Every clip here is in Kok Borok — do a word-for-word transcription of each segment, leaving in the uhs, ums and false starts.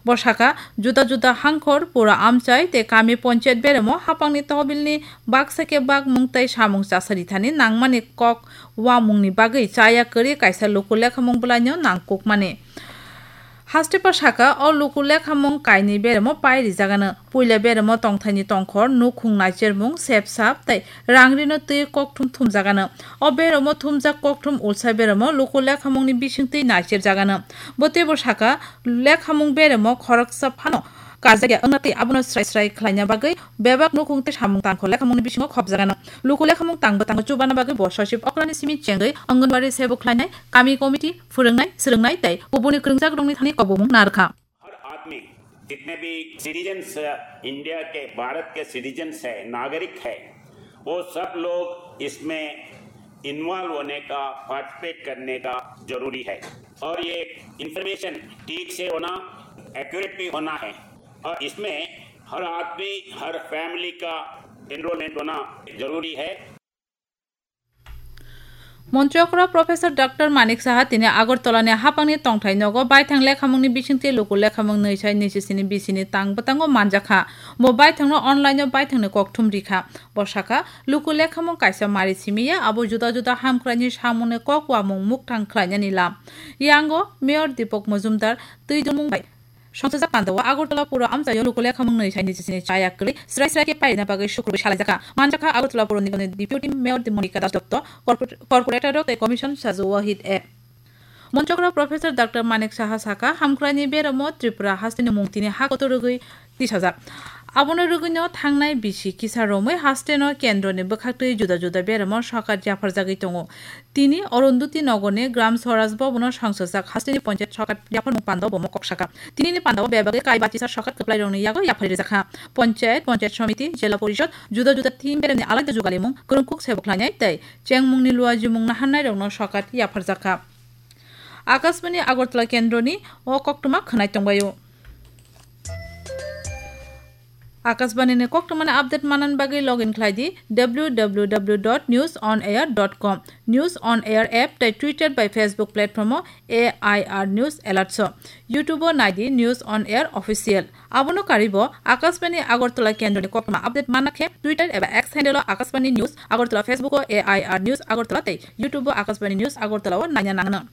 Bo sakha, juda juda hangkhor, pura amchai tei kami ponchayat beremo hapangni tohbilni baksa khe bakmung tei samung chasarithani nangmani kok uamungni bagwi chaya kwrwi kaisa luku lekhamung bwlaino nangkukmani. Hastepa sakha, o luku lekhamung kainwi beremo pai rijagano. Puila beremo tongthaini tongkhor, nukhung naichermung, sepsap tei rangrino twi kokthum thumjagano. O beremo thumjak kokthum ulsa beremo luku lekhamungni bisingtwi naicherjagano. Bo teibo sakha, lekhamung beremo khoroksa phano karjakya wngna tei abono srai srai khlaina bagwi bebak nukhung tei samung tangkho lekhamungni bisingo khopjagano. Luku lekhamung tangbo tango chubana bagwi bo sochib okrani simi chengwi Anganwadi sebuk khlainai, kami committee, phwrwngnai, swrwngnai tei kubuni kwrwngjakrokni thani kobomung narwkha. हर आदमी, जितने भी citizens India के, भारत के सिटीजन्स है, नागरिक है, वो सब लोग इसमें इन्वॉल्व होने का, पार्टिसिपेट करने का जरूरी है। और ये इंफॉर्मेशन ठीक से होना, एक्यूरेट भी होना है। और इसमें हर आदमी, हर फैमिली का एनरोलमेंट होना जरूरी है। Montri okra Professor Doctor Manik Saha tini Agartala ni hapangni tongthai nogo baithang lekhamungni bisingtwi luku lekhamung nwi sai nwi sisini bisini tang bwtango manjakha. Bo baithangno online o baithangni kokthum rikha. Bo sakha, luku lekhamung kaisa mari simi ya, abo juda juda hamkraini samungni kok uamung mukthang khlainani lam. Yango Mayor Deepak Majumdar twi dumung bai Songchajak pandao Agartala puro amchaio luku lekhamung nwi sai nijisini chaya kwrwi srai srai khe pairina bagwi sukrubwi salaijakha. Manjakha Agartala puro nigamni Deputy Mayor Monika Das Dotto, corpor-, corporator rok tei commission sajo Wahid A. Montri okra Professor Doctor Manik Saha sakha, hamkraini beramo Tripura hasteni mungtini ha kotor rwgwi tisajak. Abono rwgwino thangnai bisi kisa romwi hasteno kendroni bwkhaktwi juda juda beramo sorkar yapharjagwi tongo. Tini Arundhati Nagarni Gram Swaraj Bhavanno songchajak hasteni ponchayat sorkar yapharmung pandao bo mokok sakha. Tinini pandao bebagwi kai bachisa sorkar kwplairokni yago yapharwi rwjakha. Ponchayat, ponchayat somiti, jila porishod, juda juda team beremni alaida jugalimung, kwrwngkuk sebuk khlainai tei chengmungni luajimung naharnairokno sorkar yapharjakha. Akashbani Agartala kendroni o koktwma khwnai tongbaio. Akashbani ni koktwmani update manna bagwi login khlai di W W W dot news on air dot com. News on Air app tei Twitter bai Facebook platform o A I R News Alert so. YouTube o nai di News on Air Official. Abono karwi bo Akashbani Agartala kendroni koktwma update manna khe Twitter eba X handle o Akashbani News Agartala, Facebook o A I R News Agartala tei YouTube o Akashbani News Agartala o naina nangno.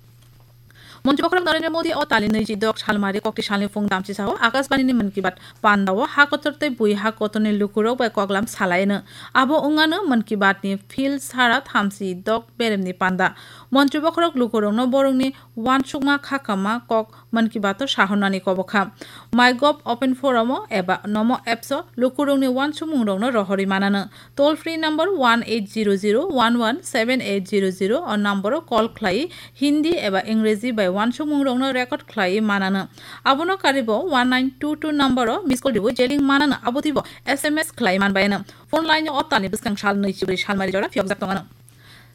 Montri bokhorok Narendra Modi o talni nwichi dok salmari kokti salni phung damchi sao Akashbani ni Mann Ki Baat panda o ha kotor tei bui ha kotorni lukurok bai koklam salaino. Abo wngano Mann Ki Baat ni field sara thamchi dok beremni panda. Montri bokhorok lukurokno borokni uansukma khakama kok Mann Ki Baat o sahornani kobokha. MyGov Open Forum o eba Namo Apps o lukurokni uansukmungrokno rohorwi manano. Toll free number one eight zero zero one one seven eight zero zero o number o call khlai Hindi eba Ingreji bai uansukmungrokno record khlai manano. Abono karwi bo one nine two two number o miss call riwi jeling manano, abotwi bo S M S khlai manbaino. Phone line o o talni bwskang sal nwi chibrwi salmari jora phiyokjak tongano.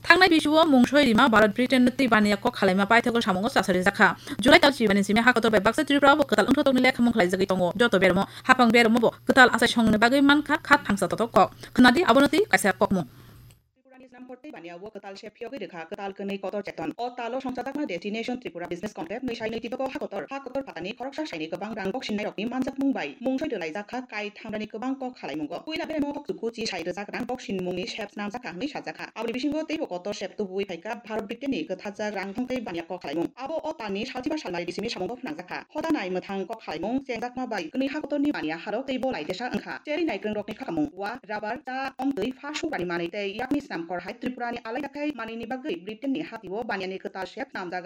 Thangnai bisuo mungsoi rima Bharat Britain no twi baniya kok khalaima paithago samungo chasari jakha. July tal chibani simi ha kotor bai baksa Tripura o bo kwtal wngthotokni lekhamung khlaijagwi tongo. Joto bermo, hapang bermo bo kwtal achai songni bagwi mankha khat thangsa totok kok. Khwnadi abono twi kaisa kokmung. Tripurani snamkhor tei baniya o kwtal se phiyogwi rwkha kwtal kwnwi kotor cheton. O talo songchajakma Destination Tripura Business Conclave nwi sai nwi tiboko ha kotor. Ha kotor phatani khoroksa saini kwbang rang boksinnai rokni manjakmung bai mungsoi rwlaijak kha kai thamrani kwbang kok khalaimungo. Puila beremo kok chuku chi sai rwjak rang boksinmungni sep snamjak kha hwnwi sajak kha. Aboni bisingo teibo kotor sep tubuwi phaikha Bharat Britain ni kwthajak rang thongthai baniya kok khalaimung. Abo o talni salchiba salmari bisimi samungo phnangjakha. Hoda nai mwthang kok khalaimung chengjakma bai kwnwi ha kotorni baniya harok teibo laidesa wngkha. Cherwi naikwrwngrokni khakamung, wa, rubber, cha, omtwi, pha suprani manwi tei yakni snamkhor hai Tripurani alaida khai manwini bagwi Britainni hatio baniyani kwtal sep snamjak